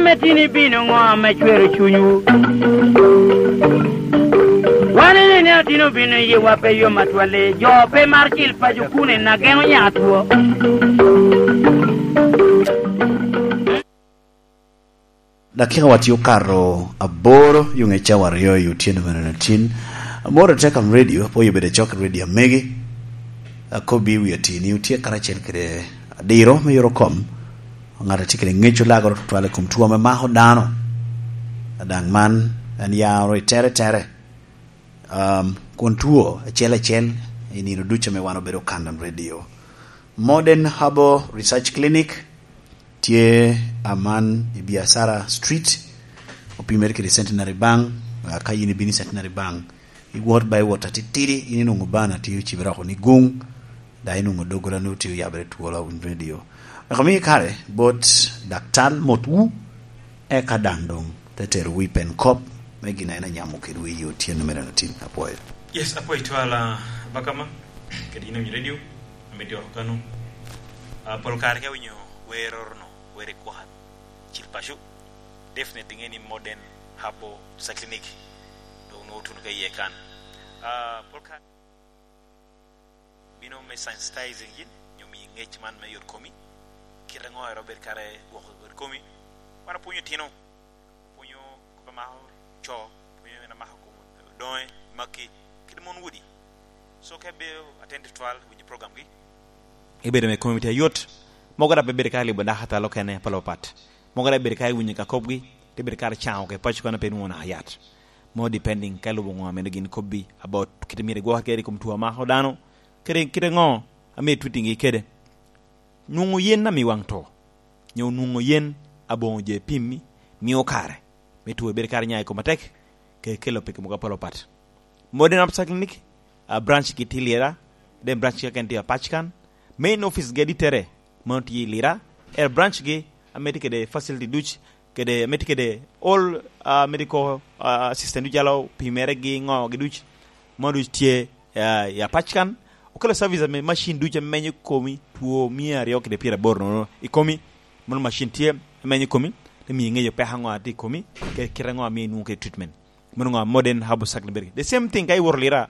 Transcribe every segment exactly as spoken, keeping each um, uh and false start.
Ame tin ibino ŋo ame cwero cunywu? Wan ene ni atin obino i yiwa pe yom atwal, jo pe mar cil paco kun en ageno nya two. Dakika wa tye okato aboro, yo ŋec cawa aryo i otyeno mene tin. Amoro te kam redio, apoyo bede cok i redio amegi. Akobbi wi atini, otye karacel kede adiro me yoro kom. Ŋat a tye kede ŋec olagoro tutwal i kom two ame mako dano. Adaŋ man en ya oro i tere tere. Um, kun two acel acel i nino ducu ame wan obedo Kandam Radio. Modern Herbal Research Clinic tye aman i Biacara Street, opimere kede Centenary Bank. Ah, ka yin ibino i Centenary Bank, i wot by wot atitidi, in inwoŋo bana tye ocibe roko ni guŋ, da inwoŋo doggola ni otye oyabere twolo awinyo radio. Wek omi kare bot daktar motwu, eka daŋ doŋ te terowu i pen kop me gin a en anyamo kedwu i otyeno mere na tin. Apwoyo. Yes, apwoyo twala bakama, kede yin awinyo radio, ame dyoko kano. Ah, pol kare ka winyo wer orono, wer i kwan, cil paco, definitely ŋe ni modern habo sa clinic, doŋ nwoŋo tuno ka iye kan. Ah, pol kare bino me sensitizing yin, nyo miyi ŋec man me yot komi, kite ŋo ero bed kare gwoko yot komi. Wan apwonyo tino, apwonyo kop amako co, apwonyo en amako kom doŋe, maki, kede mon wudi. So ka ibedo attentive twal, winyo program gi, ibedo me komi tye ayot. Mogo dok pe bedo ka libo dako atalo kene, palo pat. Mogo dok bedo ka iwinyo ka kopgi, te bedo ka caŋo ke paco kano pe nwoŋo naka yat. Mo depending ka ilubo ŋo amene gin kobbi about kite myero igwok kede i kom two amako dano, kede kite ŋo ame itwittingi kede. Nwoŋo yen amiwaŋ to, nyo nwoŋo yen aboŋo jo epimmi, mio kare me two bedo kare nya i kom atek, ke kelo peke mogo apol apat. Modern Absa Clinic, a branch gi tye Lira, then branch keken tye Apackan. Main office gi adittere, mano tye i Lira. Er branch gi, ame tye kede facility duc, kede, ame tye kede all, ah, medical, ah, assistant duc, calo pimere gi ŋo gi duc, mano duc tye, ah, i Apackan. Okelo service ame machine duc ame menyo komi two mia aryo kede pyeraboro nono i komi. Mano machine tye ame menyo komi, te miyo iŋeyo peko aŋo a tye i komi, kede kite aŋo a miyo inwoŋo kede treatment. Mano ŋo modern herbal supplement. The same thing ka iwoto Lira,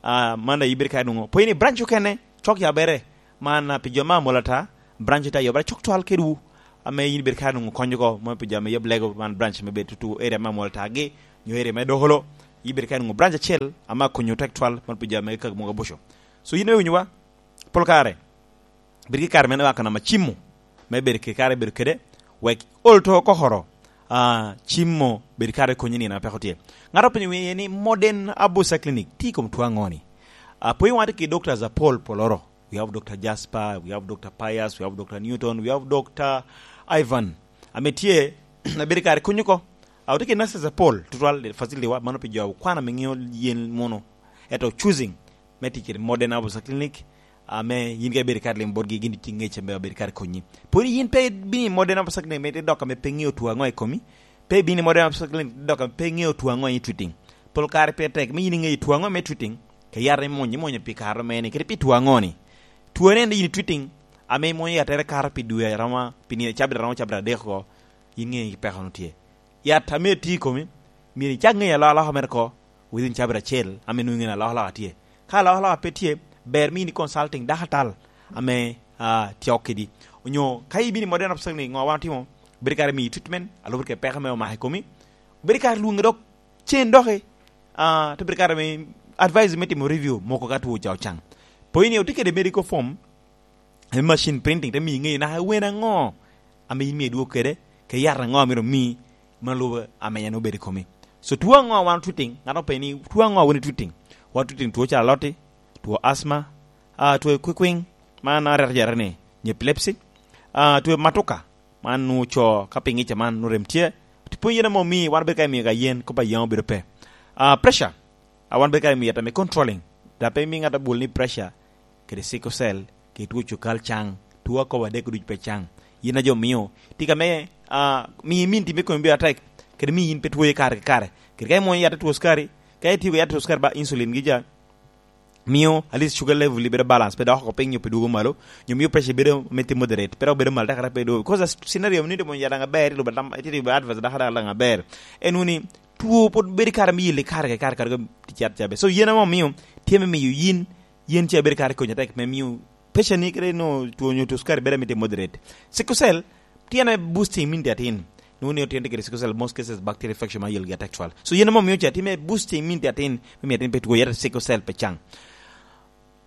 ah, man aye ibedo ka nwoŋo. Pwod in i branch okene, cok yabere. Man, ah, pi jo me amwola ata, branch tye ayobere cok twal kedwu. Ame in ibedo ka nwoŋo konyo oko, mo pi jo ame yab lego, man branch me bedo tutu area me amwola ata gi, nyo area me Dokolo. Ibedo ka nwoŋo branch acel, ame akonyo tek twal, man pi jo ame kaka mogo abuco. So, in me winyowa, pol kare, bed ki kare me naka nama cimo, me bedo ki kare bedo kede, wek ol to kokoro, ah, cimo bedo kare konyi nino apeko tye. Ŋat opinyo wiye ni modern Abusa Clinic, ti kom two aŋo ni? Ah, pwod wan tye ki Doctor Zapol Poloro, we have Doctor Jasper, we have Doctor Pius, we have Doctor Newton, we have Doctor Ivan. Ame tye, abedo kare konyo ko. Ah, otye ki nurses apol, tutwal facility wa, mano pi jo okwana me ŋeo yen mono. Eto choosing, me tic kede modern Abusa Clinic, ame yin ka ibedo kare limo botgi, gin tye ŋec ame obedo kare konyi. Pwod yin pe ibino i modern Abusa Clinic, me dok ame pe ŋeo two aŋo i komi, pe ibino i modern Abusa Clinic, dok ame pe ŋeo two aŋo i treating. Pol kare pe tek, me yin iŋeyo two aŋo me treating, ka yat imwonyo, imwonyo pi kare mene, kede pi two aŋo ni. Two ne en yin treating, ame imwonyo yattere kato pi dwe aroma, pi nino cabit aroma, cabit adek oko, yin ŋeyo peko no tye. Yat ame tye i komi, myero icak ŋeyo alokaloka mere ko, within cabit acel, ame nwoŋo ŋeyo alokaloka tye. Ka alokaloka pe tye, ber me in i consulting dakatal ame, ah, tye kedi. Onyo ka ibino i modern hospital ni ŋo wan otimo, bedo kare miyi treatment, alubere kede peko me omako i komi. Bedo kare lwoŋe dok cen doki, ah, te bedo kare me advice me timo review, moko ka two ca ocaŋ. Pwod in otye kede medical form, ame machine printing, te miyi ŋeyo naka wen aŋo ame in myero idwog kede, ke yat aŋo amito omi, ma lubo ame en obedo i komi. So, two aŋo a wan otwitting, ŋat openyo ni, two aŋo a wan otwitting? Wan otwitting two calo aloti, two asthma, ah, two kwikwiŋ, man arete jare ni, nyo epilepsy, ah, two matuka, man nwoŋo co ka pi ŋica man nwoŋo rem tye, pwony yen ame omii, wan obedo ka imiyo ka yen, kop a yen obedo pe. Ah, pressure, a wan bedo ka imiyo yat ame controlling, dok pe imiyo ŋat abwol ni pressure, kede sickle cell, kede two cukal caŋ, two akobo adek ducu pe caŋ. Yin a jo mio, tika me, ah, miyo imin timi komi bedo atek, kede miyo in pe twoyo kare ki kare. Kede ka imwonyo yat a two cukari, ka itio yat a two cukari ba insulin gi ja, mio at least sugar level bedo balance, pe dok oko piny nyo pe dwogo malo, nyo mio pressure bedo miti moderate, pe dok bedo malo tekere pe dwogo. Because scenario ni timo yadaŋ aber, ilo badam, iti advice daka daka daŋ aber. En wuni, tuo pwod bedo kare me yeli kare ke kare, kare ke tichat cabe. So yen amo mio, tye me miyo yin, yen ce bedo kare konyo tek me mio pressure ni kede no tuo nyo tuo sukari bedo miti moderate. Sickle cell, tye na boosting immunity atin. Nwoŋo ni otyen tye kede sickle cell, most cases bacterial infection ma yelgi atek cwal. So yen amo mio ca tye me boosting immunity atin, me miyo atin pe tuo yet sickle cell pe caŋ.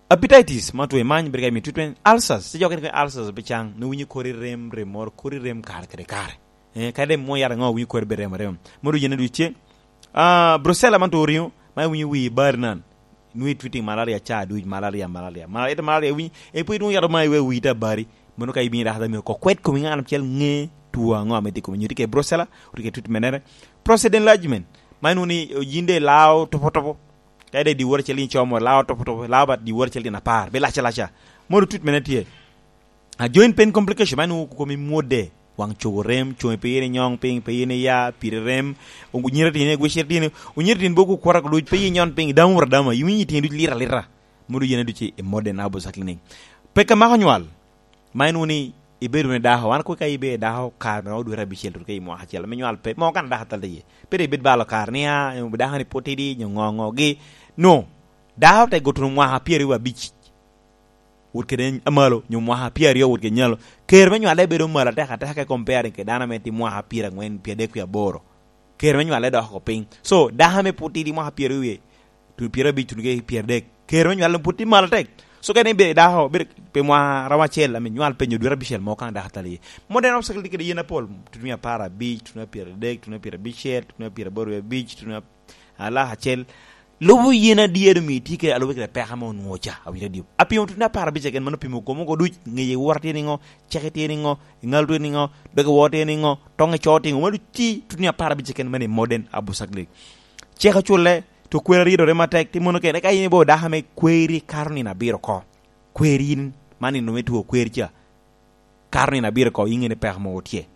Hepatitis, ma tuo imany, bedo ka imiyo treatment. Ulcers, ti jo kene ulcers pe caŋ, nwoŋo winyo kori rem, rem moro, kori rem kare kede kare. Eh, kadi mwo yat aŋo, winyo kori be rem, rem. Modo yen aduc tye. Ah, brucella man tuo ringo, ma winyo wi bari nan. Nwoŋo itwitting malaria ca aduc, malaria, malaria. Ma, ito malaria winyo, e pwod nwoŋo yat ma iwe wi ta bari. Mono ka ibino i daktar miyo ko kwet komi ŋan acel ŋe tuo aŋo ame tye komi. Nyo tye ke brucella, otye ke treatment mere. Prostate enlargement, ma nwoŋo ni yin de lao topo topo. Ka ide dyewor acel in como lao topo topo, lao bat dyewor acel tyen apar, be laca laca. Mono treatment tye. A joint pain complication, man nwoŋo komi mwode, waŋ cogo rem, coŋi pe yin inyong piny, pe yin iya, piri rem, onyira tini, gwecere tini, onyira tini boko kwora ko duc, pe yin inyon piny, damo wora dama, iwinyo tini duc lira lira. Mono yen duc i modern Abusa Clinic. Peka mako nywal, ma en wuni ibedo wunu dako, wan kwe ka ibe dako kare mere odwere abicel tutu ka i mwaka acel, me nywal pe, mo kan dako atal iye. Pe de ibed balo kare ni, ah, dako ni pwod tidi, nyo ŋo ŋo gi. No, dako te guto mwaka pyeraryo abic. Wot kede amalo, nyo mwaka pyeraryo wot kede nyalo. Ker me nywale bedo malo atek ateka ka comparing kede dano ame tye mwaka pyeraŋwen, pyeradek, pyeaboro. Ker me nywale dok oko piny. So, dako ame pwod tidi mwaka pyeraryo wie, tu-, pyerabic, tuno kede pyeradek. Ker me nywale pwod tye malo atek. So, kene ibedo dako, bedo pi mwaka romo acel, ame nywal pe nyo dwe abicel mo kan dako atal iye. Modern obstacle tye kede yen apol, tuno apar abic, tuno pyeradek, tuno pyerabicel, tuno pyeraboro wie abic, tuno alaka acel. Lubo yen adier omio itye kede alube kede peko ame onwoŋo ca, awinyo adio. Apimo tuno apar abic keken, mano pimo komo oko duc, ŋeye wora tye niŋo, ceke tye niŋo, iŋalo tye niŋo, doge woro tye niŋo, toŋe co tye niŋo, mano tye tuno apar abic keken, mano i modern Abusa Clinic. Cek oculle, to kweri aryedore matek, tye mono kene, ka in ibo dako ame kweri kato nino abiro oko. Kweri in, man nino me two kweri ca. Kato nino abiro oko, iŋe ni peko mogo tye.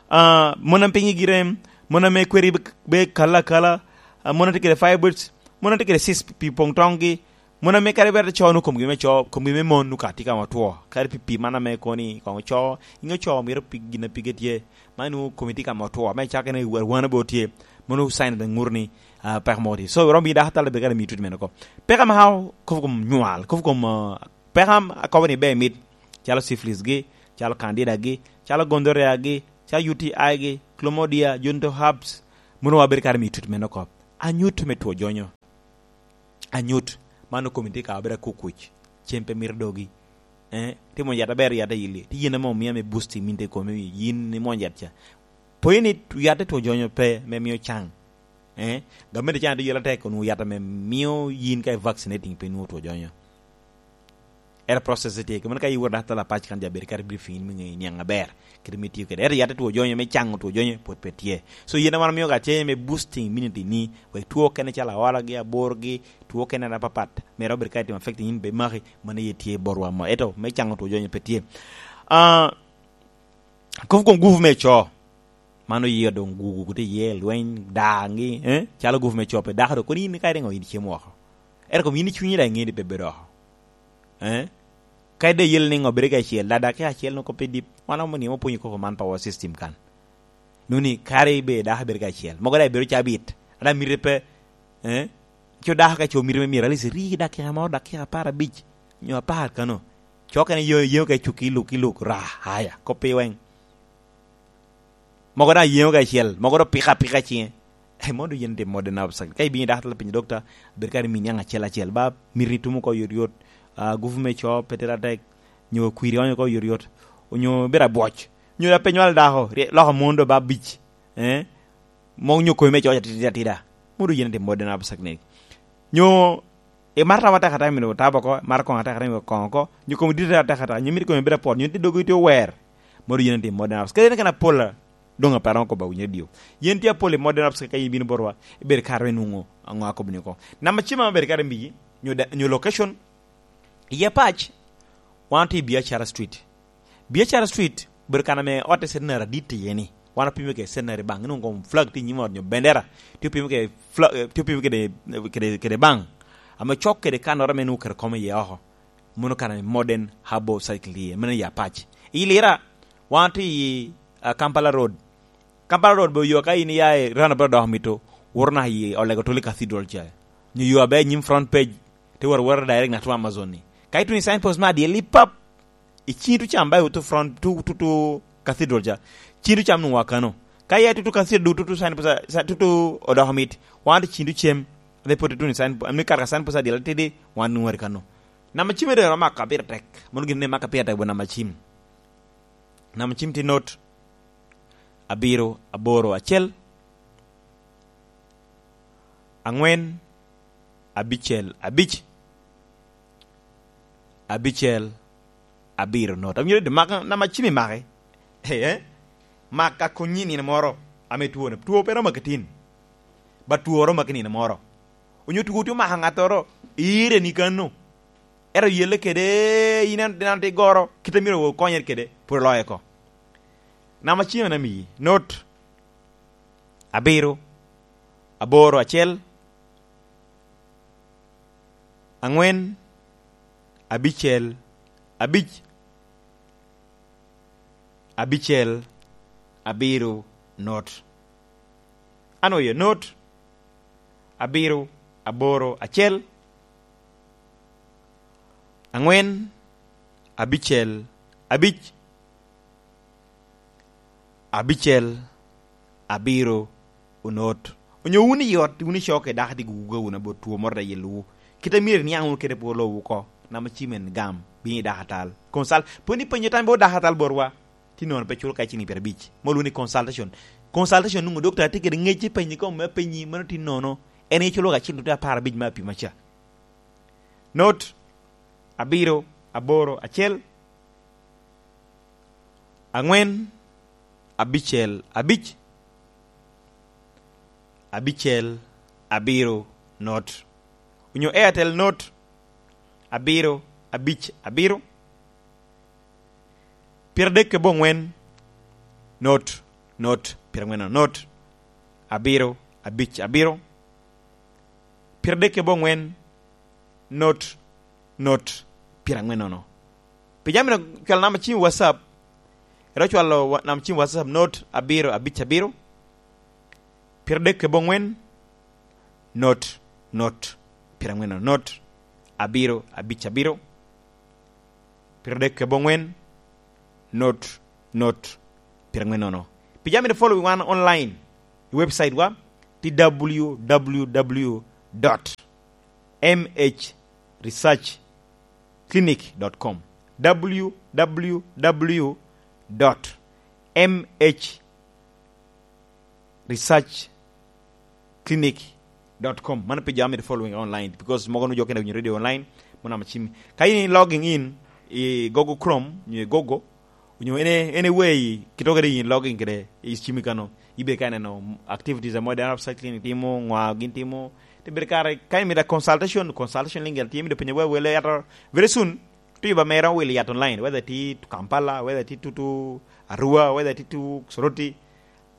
Ah, mon ame piny igi rem, mon ame kweri be, be kalo akala, ah, mon ame tye kede fibroids, mon ame tye kede cyst pi poŋ toŋgi, mon ame kadi bed co nu komgi me co, komgi me mon nu ka tye ka ma otwo, kadi pi pii man ame koni koŋ co, inge co myero pi gin a pige tye, man nu komi tye ka ma otwo, me cakere ni arwana be otye, mano sign ame ŋuto ni, ah, peko mogo tye. So, romo bino dako atal bed kadi miyo treatment oko. Peko ma kobo kom nywal, kobo kom, ah, peko am-, akobo ni ber mit, calo syphilis gi, calo candida gi, calo gonorrhea gi, calo U T I gi, chlamydia, genital herpes, mono wa bedo kare miyo treatment oko. Anyut me two jonyo. Anyut, man okomi tye ka bedo akukuc, cem pe mito dogi. Eh, tye mwony yat aber, yat ayili. Tye yen ame omio ame boosting min te komi, yin ni mwony yat ca. Pwony ni yat te two jonyo pe, me mio caŋ. Eh, gamente caŋ tye yela tek, onwoŋo yat ame mio yin ka i vaccinating pe nwoŋo two jonyo. Era process tye, kemeno ka iwor data la pac kan ja bedo kare briefing in me ŋeyo niaŋ aber, kede me tiyo kede. Era yat two jonyo, me caŋo two jonyo, pwod pe tye. So, yen wan mio ka tye me boosting immunity ni, wek two kene calo aola gi, abor gi, two kene na papat, mere obed ka itimo affecting in be maki, mano ye tye borwa mo. Eto, me caŋo two jonyo pe tye. Ah, kofu kom gufu me co, man oye doŋ gugu kuto iye, lweny, daŋgi, eh? Calo gufu me co pe dako do, kono in ka iriŋo in icemo oko. Ento kom in icwinyi daŋ iŋe ni pe bedo oko. Eh? Ka ide yel ni ŋo bedo ka acel, da dakika acel no kop pe dip, wan omo ni opwonyo koko man power system kan. Nuni kare ibe dako bedo ka acel. Mogo daŋ ibedo cabit. Ada mire pe, eh? Co dako ka co mire me myero, at least iri dakika mo, dakika apar abic, nyo apar kano. Co kene yo, yo ka cuk iluk, iluk, ra, haya, kop pe weng. Mogo daŋ yeŋo ka acel, mogo do pika pika ciŋe. Eh, modo yen tye modern obstacle. Ka ibino i daktar, pinyo dokta, bed kare min niaŋ acel acel. Ba, miri tumo ko yot yot, ah, gufu me co, pe tere atek, nyo kwiri onyo ko yot yot, onyo bedo abwoc, nyo da pe nywal dako, rie-, loko mon do ba abic, eh? Mo nyo komi me co atida atida. Modo yen tye modern obstacle. Nyo imaro tam atek atek, mito tabo oko, imaro koŋo atek atek, mito koŋo oko, nyo komi dit atek atek, nyo mito komi bedo apwot, nyo tye dogo itye ower. Modo yen tye modern obstacle. Kadi en kena pol, doŋ aparo oko ba winyo dio. Yen tye apol i modern obstacle ka in ibino botwa, ibedo kare me nwoŋo aŋo akobo ni oko. Namba cima maber kare migi, nyo da-, nyo location, iye pac, wan otye i Biacara Street. Biacara Street, obedo kan ame otte centenary adit iye ni. Wan opimo kede centenary bank, inwoŋo kom flag tye i nyim ot nyo bendera, tye opimo kede fla-, eh, tye opimo kede, kede, kede bank. ame cok kede kannoro ame nwoŋo oketo kome iye oko. Mano kan modern herbal cycle iye, meno i Apac. I Lira, wan tye i, ah, Kampala Road. Kampala Road be oyo ka in iya i Rana Brodo dok mito, woro naka i Olego Tuli Cathedral ca. Nyo yo aber i nyim front page, te woro woro direct na to Amazon ni. Ka ituno i signpost me adyel i pap, i ciŋ tutu cam ba i tutu front, tu, tutu Cathedral ca. Ciŋ tutu cam nwoŋo wa kano. Ka iya tutu Cathedral, tutu signpost, sa-, tutu odoko mit, wan tye ciŋ tutu cem, ame pwod ituno i sign, ame kato ka signpost adyel atidi, wan nwoŋo wari kano. Namba cim ere rom maka pire tek. Mano gin ni maka pire tek bo namba cim. Namba cim tye not abiro aboro acel, angwen abicel abic, abicel abiro not. Awinyo ni maka, namba cim imake. Eh, eh. Maka konyi nino moro ame twone. Two pe romo ki tin. Ba two romo ki nino moro. Onyo two tye omako ŋattoro, ire ni kano. Ero yelle kede, in an, an tye goro, kite myero okonyere kede, pwod oloyo oko. Namba cim en amiyi, not abiro, aboro acel, angwen, abicel, abic, abicel, abiro, not. An oye not, abiro, aboro, acel, angwen, abicel, abic, abicel, abiro, onot. Onyo wun i ot, wun i coke, dako tye guguga wun abot two moro i yelowu. Kite myero iniaŋ wunu kede pwolo wu oko. Namba cim en gam, bino i dako atal. Consult, pwod ipenyo tam bot dako atal botwa. Tye nono pe culo ka cini pyerabic. Mol wunu i consultation. Consultation nwoŋo dokta tye kede ŋec i penyi kom me penyi, mano tye nono. En iculo ka cini tye apar abic me apima ca. Not, abiro, aboro, acel, angwen, abicel, abic, abicel, abiro, not. Onyo Airtel not, abiro, abic, abiro, pyeradek kede bongwen, not, not, pyerangwen, not, abiro, abic, abiro, pyeradek kede bongwen, not, not, pyerangwen nono. Pi jami no, cwalo namba cim WhatsApp. Ero cwalo wa-, namba cim WhatsApp, not, abiro, abic, abiro, pyeradek kede bongwen, not, not, pyerangwen nono, not, abiro, abic, abiro, pyeradek kede bongwen, not, not, pyerangwen nono. Pi jami to follow wan online, i website wa, tye w w w dot m h research clinic dot com. W W W dot M H research clinic dot com. Mano pi jo ame following online, because mogo nu jo kene winyo radio online, mo namba cim. Ka in logging in i Google Chrome, nyo i Google, nyo any, any way, kito kede in logging kede i cimi kano, ibe ka neno activities amo dano upcycling timo, ŋwa gin timo, te bedo kare, ka imito consultation, consultation link tye, imito penyo wa wele yato, very soon, tuyo ba mera will yat online, whether ti Kampala, whether ti tutu Arua, whether ti tu Soroti,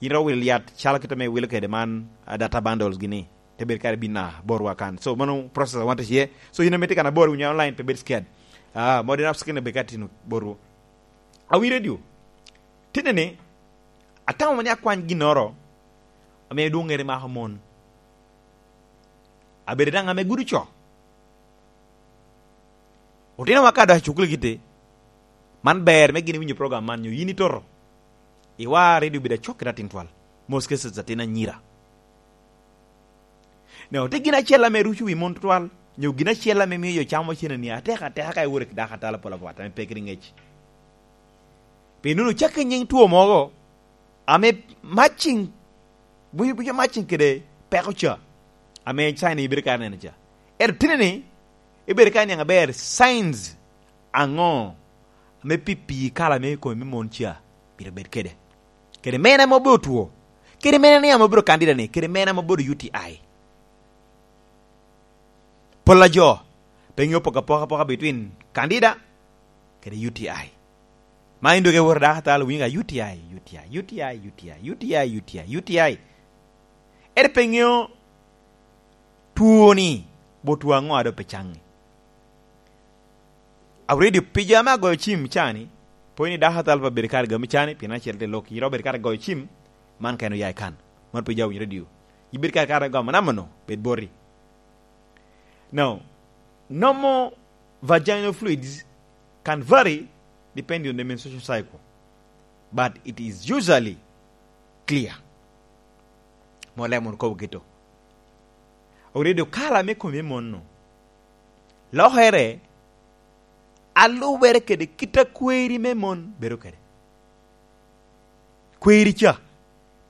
in ro will yat, calo kit ame wilo kede man, ah, data bundles gini, te bedo kare bin na borwa kan. So, mano process I want to share. So, in ame tye kan abor, winyo online, pe bed scared. Ah, modern apps kene be ka tino borwu. Awi radio. Tine ni, atamo ni akwany ginnoro, ame dwoŋ ŋere mako mon. Abedo daŋ ame gudo co. Otinowa ka dok i cukul giti, man ber me gin winyo program man, nyo yin itoto. Iwa ready obedo acok kede atin twal. Most cases atin anyira. Nyo, tye gin acel ame ruco wi mon twal, nyo gin acel ame mio jo camo cene ni atek ateka ka iworo i dako atala pol abwat ame pe kede ŋec. Pi nuno cakke nyiŋ two mogo, ame matching, buco, buco matching kede peko ca, ame sign ibedo ka neno ca. Ento tine ni, ibedo ka niaŋ aber signs aŋo ame pi pii kala me i kome me mon ca pire bed kede. Kede mene ame obedo two, kede mene ni ame obedo kandida ni, kede mene ame obedo U T I. Pol a jo pe ŋeo poko apoka apoka between kandida kede U T I. Ma in doge woro dako atalo winyo ka U T I, U T I, U T I, U T I, U T I, U T I, U T I. Ere pe ŋeo twoni botwu aŋo a doŋ pe caŋŋi? Awready pija ame agoyo cim cani, pwod ni dako athal pa bedo kare gamo cani, pien acel te lok, yito bedo kare goyo cim, man kene oya i kan. Man pija owinyo redio. Ibedo kare kare gamo namo no, bed boti. Now, normal vaginal fluids can vary depending on the menstruation cycle, but it is usually clear. Mo lemo kobo gito. Oredo kala me komi mon no. Lokere alubere kede kit a kweri me mon bedo kede. Kweri ca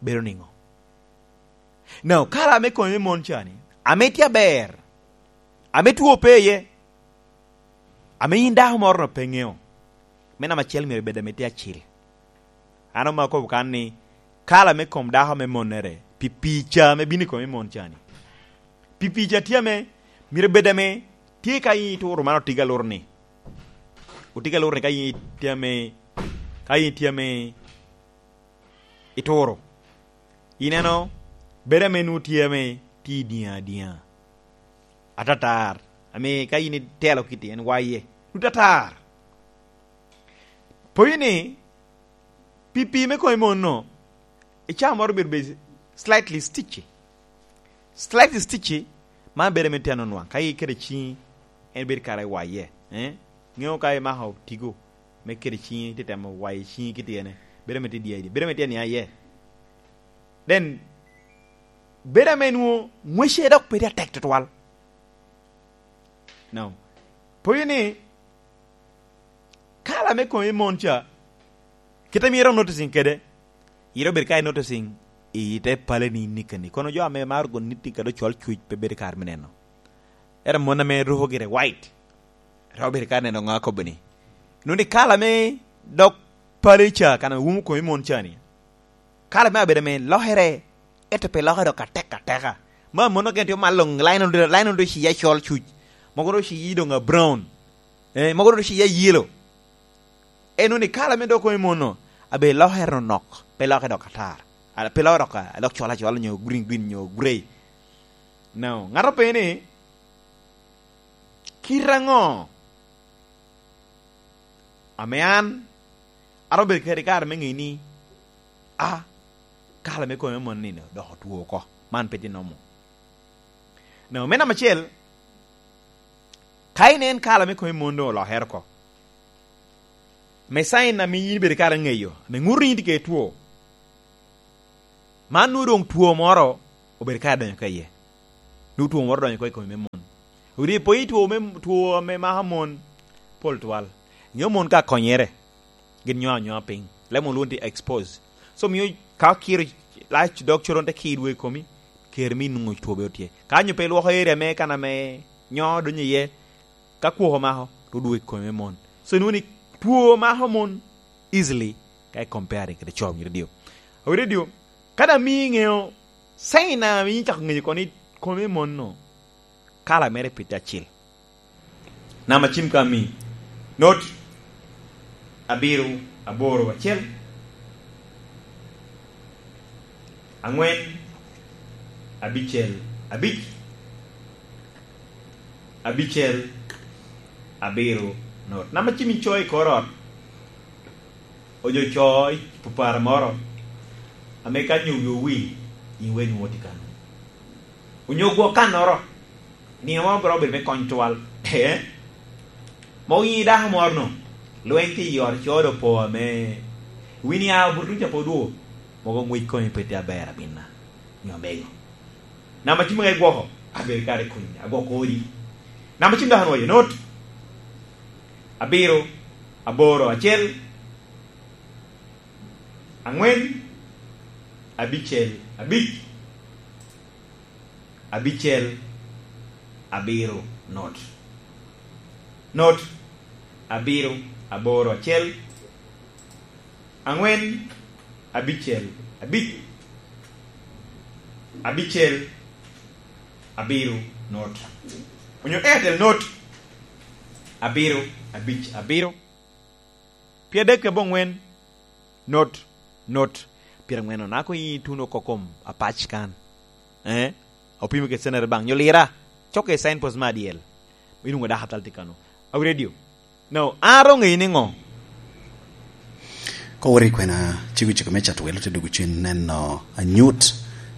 bedo niŋo? Now, kala me komi me mon ca ni, ame tye aber, ame two pe iye, ame yin dako moro no pe ŋeo, me namba acel myero bed ame tye acil. An omako akobo kan ni, kala me kom dako me monnere, pi pii ca ame bino i kom me mon ca ni. Pi pii ca tye ame, myero bed ame, tye ka yin ituro man otiga lur ni. Otiga lur ni ka yin tye ame, ka yin tye ame ituro. Ineno, bedo ame nwoŋo tye ame tye i diŋa diŋa. Atatar. Ame ka yin itelo kiti en waye. Nwoŋo tatar. Poyo ni, pi pii me komi mon no, i caa moro bedo be slightly sticky. Slightly sticky, man bedo ame tye anonwaŋ. Ka iketo ciŋi, en bedo kara i waye. Eh? Ŋeo ka imako tigo, me keto ciŋi, ite temo wayo ciŋi kiti ene. Bedo ame tye diaidi. Bedo ame tye nia iye. Then, bedo ame nwoŋo ŋwece dok pe tye atek tutwal. Now, poyo ni, kala me komi mon ca, kit ame iro noticing kede, iro bedo ka i noticing i te pale ni nikani. Kono jo ame maro gon nitti kede ocol cuc pe bedo kare me neno. Ero mon ame ruko gire white, ro bedo ka neno ŋo akobo ni. Nuni kala me dok pale ca, kan ame wumo komi mon ca ni. Kala me abedo ame lokere, ento pe lokere dok atek ateka. Ma mono gen tye malo line on, line on do ciya col cuc. Mogo do ciya doŋ a brown. Eh, mogo do ciya yellow. Eno ni kala me dok komi mono, abe lokere nok, pe loke dok atar. A, pe loke dok a, dok col acol nyo green green nyo gray. Now, ŋato pe ni, kit aŋo ame an, aromo bedo kede kare me ŋe ni, a, kala me komi me mon nino dok otwo oko. Man pe tye nomo. Now, me namba acel, ka inen kala me komi mon doŋ olokere oko, me sign ame yin ibedo kare ŋeyo, ame ŋuto ni yin tye kede two. Man nwoŋo doŋ two moro obedo kare donyo ka iye. Nwoŋo two moro donyo oko i komi me mon. Odi po i two me, two ame mako mon pol twal. Nyo mon ka konyere, gin nyo anyoa piny. Lemo lwongo ni expose. So mio ka okiro lac dog coron te kir dwe i komi, ker mi nwoŋo two be otye. Ka nyo pe ilwoko area me kan ame nyo donyo iye, ka kwok omako, to dwe i komi me mon. So nwoŋo ni two mako mon easily ka i comparing kede co myero dio. Awire dio, ka daŋ mio iŋeo sign ame yin cako ŋeyo kono ni komi me mon no, kala mere pite acil. Namba cim ka mi. Not abiro aboro acel, aŋwen abicel abic, abicel abiro not. Namba cim icoyo i kor ot, ojo co i pupara moro, ame ka nyo wi owil, in weny wot i kano. Onyo gwok kannoro, nino moro biro bedo me kony twal. Eh? Mogo yin dako moro no, lweny ki i ot codo po ame wini a obuto ca pwod wo, mogo ngwec komi pe tye aber abina. Nyo mego. Namba cim ame gwoko, abedo kare kuny, agwoko odi. Namba cim dok anwoyo, not abiro, aboro, acel, aŋwen, abicel, abic, abicel, abiro, not. Not, abiro, aboro, acel, aŋwen, abicel, abic, abicel, abiro, not. Onyo Airtel, not, abiro, abic, abiro, pyeradek aboŋwen, not, not, pyeraŋwen onako i tuno oko kom apac kan. Eh? Opimo kede cenere baŋ nyo lira. Cokke i signpost me adyel. Inwoŋo dako atal tye kano. Awi radio. No, an aro ŋeyi niŋo? Ka wot i kwena, cego cego me cato welo te dwogo cen neno anyut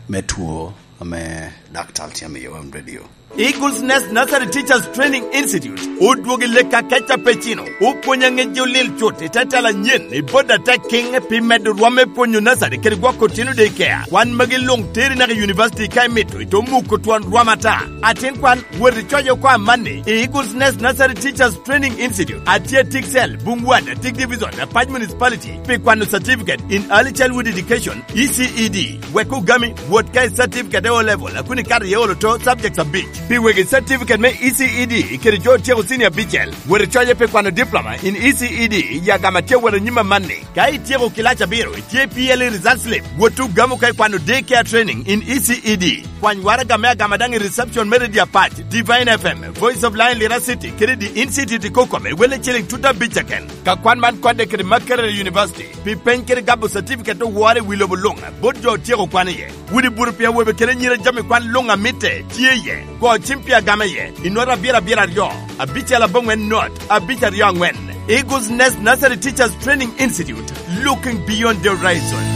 me two ame daktar tye amiyo wam radio. Eagles Nest Nursery Teachers Training Institute odwogo i lek akeca pe cino, opwonyo aŋeji olil cut i te tela anyen i bot atek kiŋ pi medo rwom me pwonyo nursery kede gwoko otino daycare. Kwan magi luŋ teri naka i university ka imito, ito muko twon rwom ata. Atin kwan, wot icoc oko amanni i Eagles Nest Nursery Teachers Training Institute, atye Tiksel, Bungwat, Tik Division, Apac Municipality, pi kwano Certificate in Early Childhood Education, E C E D. Wek ogami, wot ka i certificate e O level, a kun ikato iye olo to subjects abic. Pi wegi certificate me E C E D kede jo otyeko senior abicel, wot icoye pi kwano diploma in E C E D i agama tye wot anyim amanni. Ka ityeko kilac abiro, itye P L E result slip, wot ogamo ka ikwano day care training in E C E D. Kwany waraga me agama daŋ i reception me Radio Apac, Divine F M, Voice of Lion Lira City, kede The Institute i Kokome, welle ciling tut abic keken. Ka kwan man kodde kede Makerere University, pi peny kede gabo certificate owore i wi lobo luŋ, bot jo otyeko kwan iye. Wudi buru pi awobe kede anyira jami kwan luŋ amitte tye iye. Go cim pi agama iye, i not abiro abiro aryo, abicel aboŋwen not, abic aryo aŋwen. Eagles Nest Nursery Teachers Training Institute, looking beyond the horizon.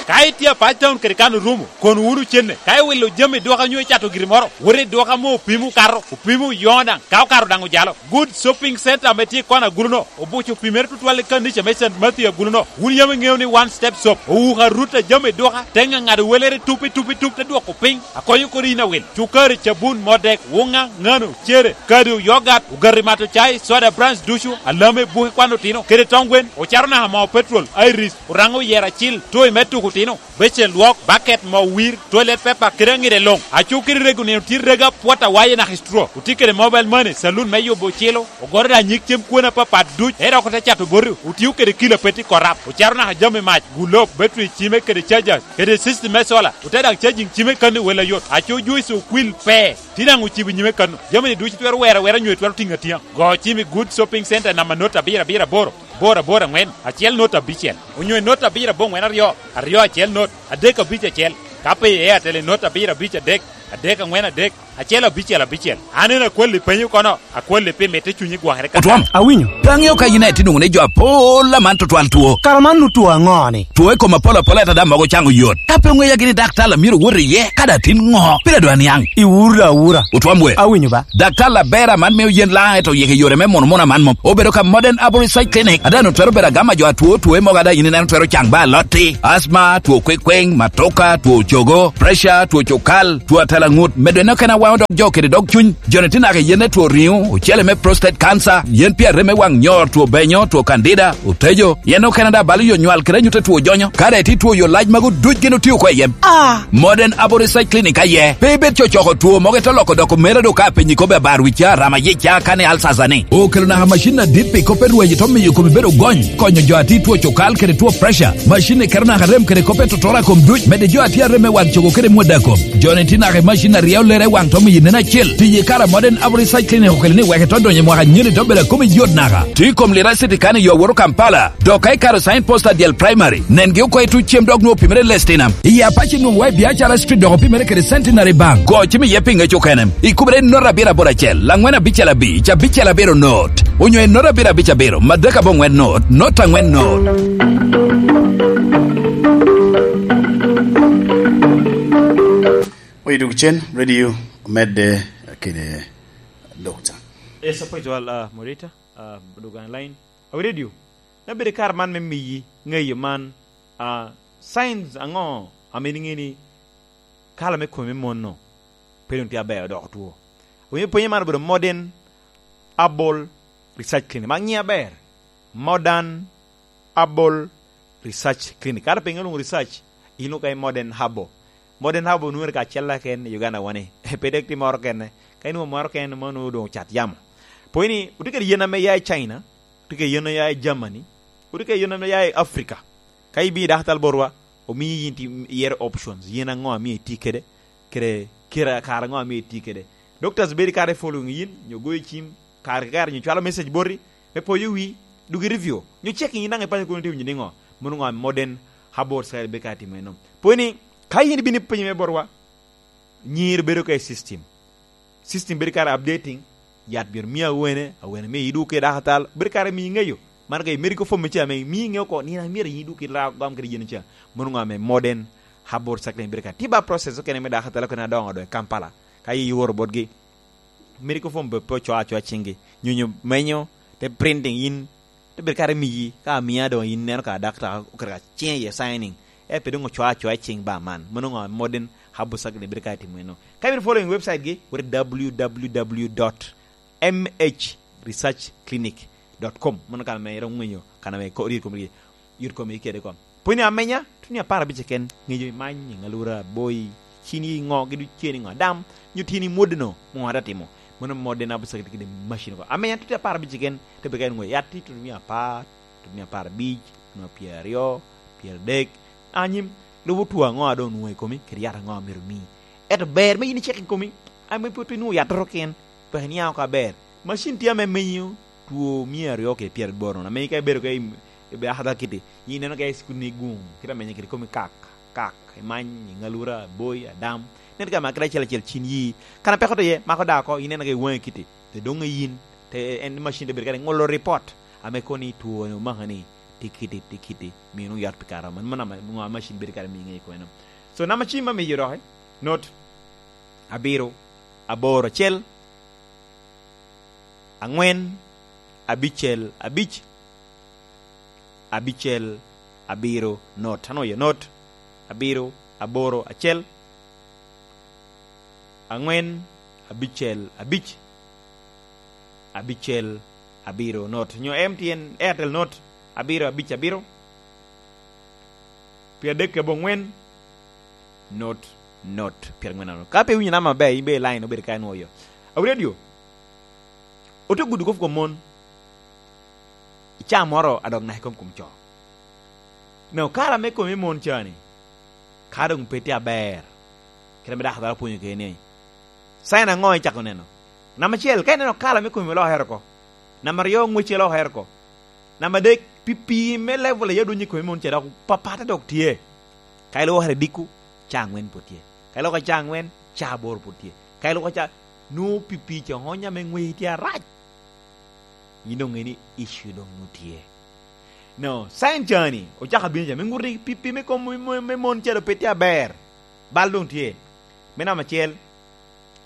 Ka itye Apac Town kede kan orumo, kono wunu cenne. Ka iwilo jami dwoka nyo icato giri moro, wot i dwoka mo opimo okato, opimo oyoŋo daŋ, ka okato daŋ ojalo. Good Shopping Center ame tye i kona agulu-no, obuco pimere tutwal i kanica me Saint Matthew agulu-no. Wun yam iŋeo ni One Step Shop owuko arut a jami dwoka, te ŋaŋado welere tup i tup i tup, te dwoko piny, akonyo kodi in awil. Cukari, cabun, modek, wuŋa, ŋano, cere, kado, yogat, ogati mato cai, soda brands ducu, alame, buke kwan otino, kede tong gwen, ocato naka moo petrol, iris, oraŋo oyero acil, toy me tuko otino, becen lwok, baket, moo wir, toilet paper, kede aŋide luŋ. Aco kede rego nino tye rego apwot awaye naka i straw. Otye kede mobile money, saloon me yubo ocilo, ogoto daŋ nyig cem kwone apapat duc, ento dok ote cato boti, otio kede kilo apet i korap, ocato naka jami mac, gulob, battery cime kede chargers, kede system me solar, ote daŋ charging cime kano i wel ayot. Aco juice okwil pe, tye daŋ ocibo i nyime kano. Jami-ni ducu twero wero awera nyo twero tiŋo atiŋa. Go cim i Good Shopping Center namba not abiro abiro aboro, aboro aboro aŋwen, acel not abicel, onyo i not abiro aboŋwen aryo, aryo acel not, adek abic acel, ka pe i Airtel i not abiro abic adek, adek aŋwen adek, acel abicel abicel. An en akwalli penyo kono, akwalli pi mitte cunyi gwokere ka. Otwom. Awinyo. Pe aŋeo ka yin aye tye nwoŋo ni jo apol aman tutwal two. Kara man nu two aŋo-ni? Two i kom apol apol ento daŋ mogo caŋo yot. Ka pe oŋeya gini daktar a myero owot iye, ka daŋ tin ŋo? Pire dwa niaŋ. Iwuro awura. Otwom we. Awinyo ba. Daktar aber aman mio yen laŋ eto yik i yore me mono mono aman mom. Obedo ka Modern Arborist Side Clinic, a daŋ otwero bedo agama jo atwo, two mogo a daŋ yin ineno twero caŋ ba alotti, asma, two kwekweŋ, matoka, two cogo, pressure, two cukal, two atela ŋut, medo en okene awaŋo dog jo kede dog cuny. Joni tye naka i yen me two riŋo, ocele me prostate cancer, yen pi arem me waŋ nyor, two benyo, two candida, otejo, yen okene daŋ balo yo nywal kede anyut a two jonyo. Ka daŋ itye two yo lac magu duc gin otio oko i yem. Ah! Modern Aboriginal Clinic aye. Pe ibed cocoko two mogo ite loko doko mera do ka penyi kobbe abar wica, rama yica, kane alsasa ni. Okelo naka macin adit pi kop me rweny ito miyo komi bedo gony, konyo jo a tye two cukal kede two pressure. Macin ni keto naka rem kede kop me totora kom duc, mede jo a tye arem me wang cogo kede mwada kom. Joni tye naka i macin a ryeo lere i wang to miyo nen acel. Tiyo i kare a Modern Aboriginal Clinic okelo ni wek ito donyo i mwaka nyeni to bedo a komi yot naka. Tye i kom Lira City kan i yo woto Kampala. Dok ka ikato sign post a dyel primary, nen gi oko i tuc cem dok nwoŋo opimere i Lestinam. I Apac nwoŋo wa i Biacara Street dok opimere kede Centenary Bank. Go cim iye pi ŋec okene. Ikubere i not abiro aboro acel, angwen abicel abic, abicel abiro not. Onyo i not abiro abic abiro, madek aboŋwen not, not angwen not. Oyo duk cen, radio, medde, kede dokta. Yes, apwec wal, ah, moderator, ah, duk online. Awi radio, me bedo i kare man me miyi ŋeyo man, ah, science aŋo ame in iŋeo ni kala me komi me mon-nu pe doŋ tye aber odoko two? Awinyo penyo man obedo Modern Herbal Research Clinic. Ma ŋiye aber, Modern Herbal Research Clinic. Kara pe iŋeo lwoŋo research, in oka i Modern Herbal. Modern Herbal onwoŋere kacel keken i Uganda wani. Pe dek tye moro kene. Ka inwoŋo moro kene, mano doŋ ocat yamo. Pwony ni, otye kede yen ame ya i China, otye kede yen ame ya i Germany, otye kede yen ame ya i Africa. Ka ibino i daktal botwa, omiyi yin ti-, iyero options, yen aŋo amio iti kede, kede kare, kare aŋo amio iti kede. Doctors bedo kare following yin, nyo goyo cim, kare ki kare nyo cwalo message boti, me poyo wi, duk i review, nyo checking yin daŋ ipanyo kono ite winyo niŋo, mono ŋo modern herbal side be ka timo eno. Pwony ni, ka yin ibino ipenyo me botwa, Nyir bedo ka i system. System bedo kare updating. Yat myero mi awene, awene mi iduk i dakatal. Bedo kare mi iŋeyo. Man ka i medical form me ca me mi iŋeyo ko, nino myero iduk i la gam kede yen ca. Mono ŋo ame modern herbal cycling bedo kare. Tiba process okene me dakatal okene adoŋo do i Kampala. Ka i oro botgi. Medical form pe, pe ocoa acoa ciŋgi. Nyonyo menyo, te printing in, te bedo kare miyi, ka amia doŋ in neno ka dakta oketo ka ciŋe iye signing. E pe doŋ ocoa acoa i ciŋ ba man. Mono ŋo modern herbal cycling bedo kare timo eno. Ka ibino following website gi, wot i w w w dot m h research clinic dot com. Mono kan ame iromo ŋwenyo, kan ame ko-, yot komi, yot komi kede kom. Pwony amenya, tuni apar abic keken, ŋeyo imany, iŋalura, boi, cini ŋo, gidu ceni ŋo, adam, nyo tini mwodeno, ŋo ada timo. Mono modde na busa kede macin ko. Amenya, tuni apar abic keken, te beka en ŋo, yat ti tuni mia apar, tuni mia apar abic, tuni pyeraryo, pyeradek, anyim, lubo tuo aŋo a doŋ onwoŋo i komi, kede yat aŋo a myero omi. Ento ber me yin icek i komi, ame pe otye nwoŋo yattoro ken, peki niaŋ oko aber. Macin tye ame menyo two mia aryo kede pyeraboro nono, ame ka ibedo ka im-, ibe akada kiti, ineno ka i cukul ni guŋ, kite amenyo kede komi kak, kak, imany, iŋalura, boi, adam, nen ka makere acel acel cin yi. Kan apeko to ye, mako da oko, ineno ka i waŋi kiti, te doŋ i yin, te en macin te bedo kare ŋolo report, ame koni two ni omaka ni, ti kiti, ti kiti, mino yat pi kare man, man ama, ŋo a macin bedo kare miŋe i kweno. So, nama cim amiyo doki, not abiro, aboro acel, aŋwen, abicel, abic, abicel, abiro, not. Ano ye not? Abiro, aboro, acel, aŋwen, abicel, abic, abicel, abiro, not. Nyo M T N Airtel not, abiro, abic, abiro, pyerdek kede abongwen, not, not, pyerangwen anot. Ka pe iwinyo nama maber, in be i line obedo ka inwoyo. Awi radio, ote gudo kop kom mon, i caa moro a dok naka i kom kom co. Neo kara me kom i mon ca ni, ka doŋ pe tye aber, kite ame dako dwaro pwonyo kede ni, sign aŋo icako neno? Namba acel, ka ineno kala me komi olokere oko. Namba aryo, ŋwecci olokere oko. Namba adek, pipii me level aye odonyo i komi mon ca dok papatte dok tye. Ka ilwokere i dikku, caa aŋwen pwod tye. Ka iloko caa aŋwen, caa aboro pwod tye. Ka iloko caa, nwoŋo pipii ca onya me ŋweci tye arac. Yin doŋ ŋe ni issue doŋ nwoŋo tye. No, sign ca ni, ocako bino ca, me ŋuti ni pipii me kom, me, me, me mon ca doŋ pe tye aber. Bal doŋ tye. Me namba acel,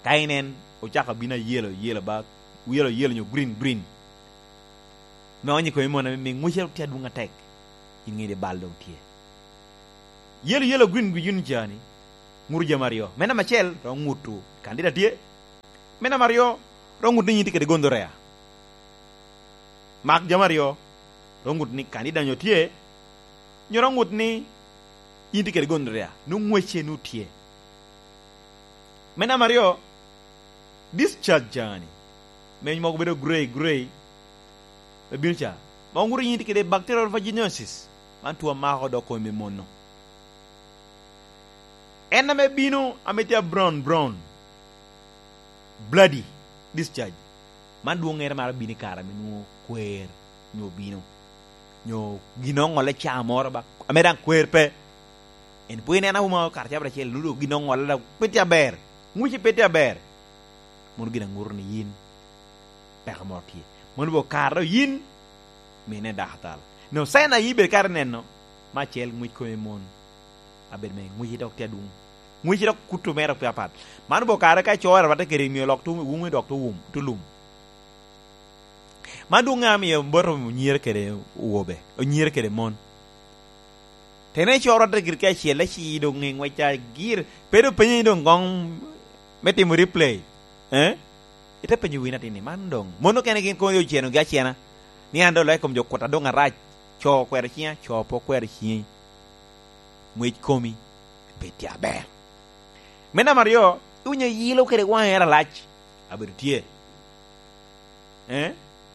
ka inen, ocako bino ayelo, yelo ba, yelo, yelo nyo green, green. Me onyo i komi mon ame, me ŋwece tye adwoŋ atek. In ŋe ni bal doŋ tye. Yelo, yelo, green, green ca ni, ŋuto jami aryo. Me namba acel, romo ŋuto kandida tye. Me namba aryo, romo ŋuto ni yin tye kede gonorrhea. Mak jami aryo, romo ŋuto ni kandida nyo tye, nyo romo ŋuto ni yin tye kede gonorrhea, nwoŋo ŋwece nwoŋo tye. Me namba aryo, discharge ca ni, meny mogo bedo grey, grey, me bino ca, ma oŋuto yin tye kede bacterial vaginosis, man tuo amako dok komi me mono. En ame bino, ame tye a brown, brown, bloody discharge, man dwoŋŋere maro bino i kare ame nwoŋo kwer nyo obino, nyo gin oŋolle caa moro ba, ame daŋ kwer pe. En pwod ineno awuma kare cabit acel, nudo gin oŋolle daŋ pe tye aber, ŋwece pe tye aber. Mono gin aŋuto ni yin peko moro tye. Mono bo kare yin, mine dakatal. No, sign a yin ibedo kare neno, me acel, ŋwec kome mon. Abedo me ŋwece dok tye adwoŋ. Ŋwece dok kuto mere pe apat. Man bo kare ka coro rwatte kede mio lok to wum, dok to wum, to lum. Man dwoŋ ŋa mio boto onyire kede owobe, onyire kede mon. Tene coro rwatte gire ki acel, ci doŋ ŋe ŋwec a gir, pe doŋ penyo ni doŋ goŋ me timo replay. Eh? Ite penyo win atin ni, "Man doŋ, mon okene gin kono ocenogi acena, ni an doŋ loyo i kom jo kuta doŋ arac, co okwero ciŋa, co pe okwero ciŋi, ŋwec komi pe tye aber." Me namba aryo, iwinyo yilo kede waŋe en alac, abedo tye. Eh?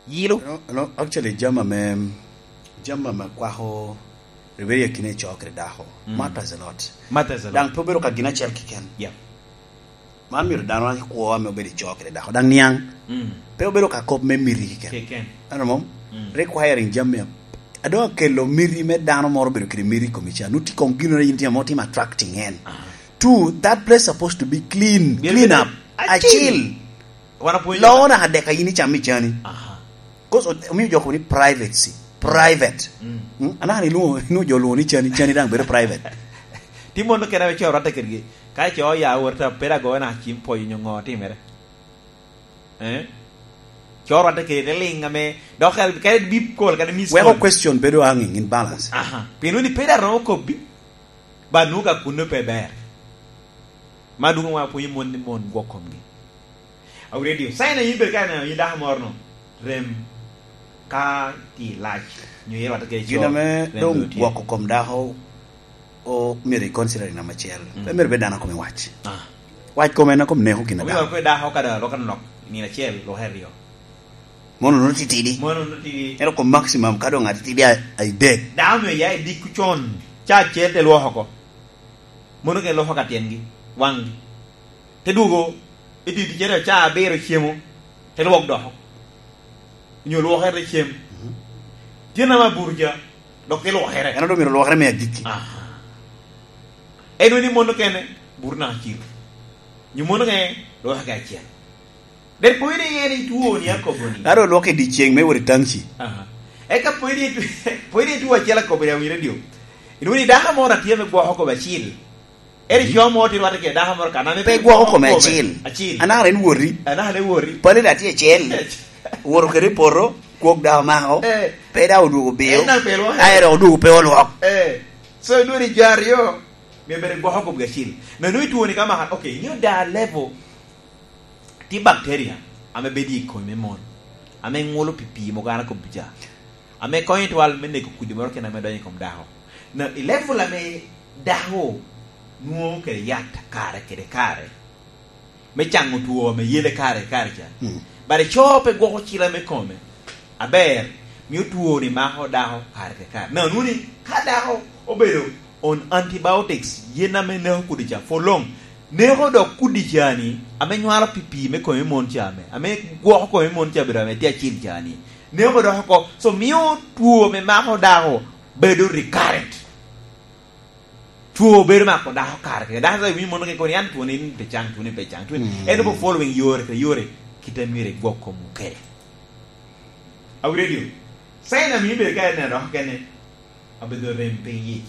Yilo. No, no, actually, jami ame, jami ame kwako ribedi akina i co kede dako. Mm. Matters a lot. Matters a lot. Daŋ pe obedo ka gin acel keken. Yep. Man myero dano wan kwo ame obedo i co kede dako. Daŋ niaŋ, mm, pe obedo ka kop me miti keken. Keken. Ano mom? Mm. Requiring jami a-, a doŋ akelo miti me dano moro obedo kede miti i komi ca. Nuti kong gino in tye mo timo attracting en. Aha. Two, that place supposed to be clean. Bien, clean bien. Up. Acil. Acil. Wan apwonyo. Lowo naka dek a yin icamo i cani. Aha. 'Cause omio jo kobo ni privacy. Private. Mm. Mm? Anaka ni ilwongo, inwongo jo lwongo ni cani, cani daŋ bedo private. Ti mono kena be coro atte kedgi. Ka ico ya wot a pera goyo na cim pwoyo nyo ŋo timere. Eh? Coro atte kede liŋ ame, dok kare, kare bip kol, kare miss call. Weko question bedo hanging in balance. Aha. Pien woni pe dano okobbi, ba nwoŋo ka kunno pe ber. Ma dwogo wa pwonyo mon ni mon gwok komgi. Awu radio, sign a yin bed ka ineno yin dako moro no, rem ka ti lac, nyo yero atte kede coro. Gin ame rem doŋ dwe tye. Gwoko kom dako, o, myero i consider i namba acel. Mm. Pe myero bed dano a kome wac. Ah. Wac kome en a kom neko gin a Omiyo dako. Pe dako ka dok alok anok, nino acel, lok aryo. Mono no titidi. Mono no titidi. Ero kom maximum ka doŋ atitidi a, a idek. Dako myero ya i dikku con, ca acel te lwoko oko. Mono ke lwoko ka tyengi, waŋgi. Te dwogo, i dye ticere ca abiro cemo, te lwok doko. Onyo lwokere te cem. Mhm. Tyen ama buto ca, dok te lwokere. En onongo myero lwokere me agikki. Aha. En wini mono kene, buto naka aciro. Nyo mono kene, lwokere acel. Dek pwod ni en itwoni akobo ni. Aro lwok i dyeceng me wot i taŋci. Aha. Eka pwod ni, pwod ni itwo acel akobo ni awinyo dio. Inwini dako moro atye me gwoko akobo acil. Eri co mo ti rwate kede dako moro kan ame pe gwoko kome acil. Acil. Anaka en woti. Anaka en woti. Pale da tye acel. Woto kede i poto, kwok da omako. Eh. Pe da odwogo biyo. En na pe lwoko. Aye dok odwogo pe olwok. Eh. So, inwini jo aryo, myero bed gwoko kobgi acil. Na nwoŋo itwoni ka maka, okay, inyo da level. Tye bacteria ame bedo i komi me mon, ame ŋulo pi pii mogo an akobo ca, ame konyo twal me neko kudi moro kene ame donyo i kom dako. Na i level ame dako nwoŋo kede yat kare kede kare, me caŋo two ame yele kare kare ca, mm, but co pe gwoko cila me kome, aber, mio two-ni mako dako kare ki kare. Na nwoŋo ni ka dako obedo on antibiotics, yen ame neko kudi ca, for long, neko dok kudi ca ni, ame nywalo pi pii me kome mon ca ame, ame gwoko kome mon ca bedo ame tye acil ca ni, neko dok oko. So, mio two ame mako dako bedo recurrent. Two bedo mako dako kare kare. Dako sa winyo mono kekoni, an two ni pe caŋ, two ni pe caŋ, two ni. Mm. En obo following yore kede yore, kite myero igwok komu kede. Awi radio. Sign a mio bedo ka en dok kene, abedo rem piny yic.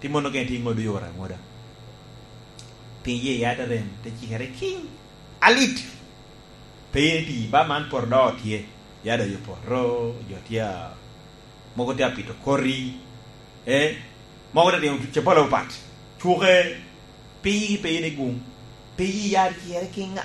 Ti mono kene ti ŋodo yore aŋoda. Piny yic ya te rem, te cikere kiŋ. Alit. Pe yen iti, ba man poto do tye. Ya do yo poto, jo tye a, mogo tye a pito koti. Eh? Mogo tye timo tuce polo pat. Cuke. Pe yigi pe yen i guŋ. Pe yi yar cere kiŋ